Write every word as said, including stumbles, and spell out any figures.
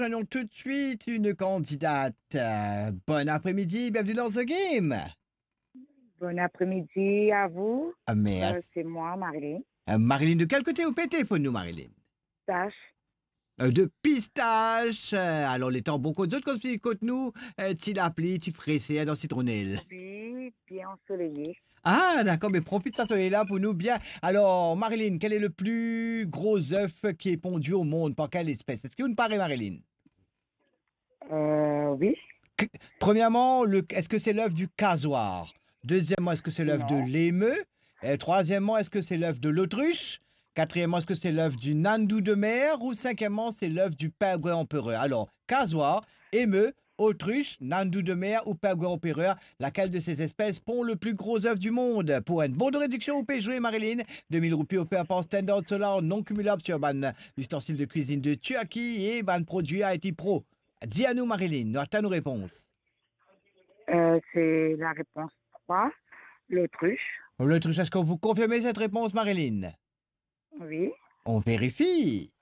Prenons tout de suite une candidate. Euh, bon après-midi, bienvenue dans The Game. Bon après-midi à vous. Ah, merci. Euh, c'est moi, Marilyn. Euh, Marilyn, de quel côté ou pe telefone nou, Marilyn? Pistache. Euh, de Pistache. Euh, alor, letan bon kot zot, kot, kot nou, euh, ti lapli, ti freser dan Sitronel. Oui, bien ensoleillé. Ah, dakor, me profit sa soley la pou nou bien. Alors, Marilyn, quel est le plus gros œuf qui est pondu au monde? Par quelle espèce? Eski ou pare, Marilyn? Euh, oui. Qu-, premièrement, le, est-ce que c'est l'œuf du casoar? Deuxièmement, est-ce que c'est l'œuf de l'émeu? Non. Et troisièmement, est-ce que c'est l'œuf de l'autruche? Quatrièmement, est-ce que c'est l'œuf du nandou de mer? Ou cinquièmement, c'est l'œuf du pingouin empereur? Alors, casoar, émeu, autruche, nandou de mer ou pingouin empereur, laquelle de ces espèces pond le plus gros œuf du monde? Pour un bon de réduction, ou peut jouer, Marilyn, deux mille roupies ofert par Standard Solar, non cumulable sur bann ustensiles de cuisine de Turquie et bann produits I T Pro. Di anou, Marilyn, nou atann ou repons. Euh, c'est la réponse trois, l'autruche. L'autruche, est-ce que vous confirmez cette réponse, Marilyn? Oui. On vérifie.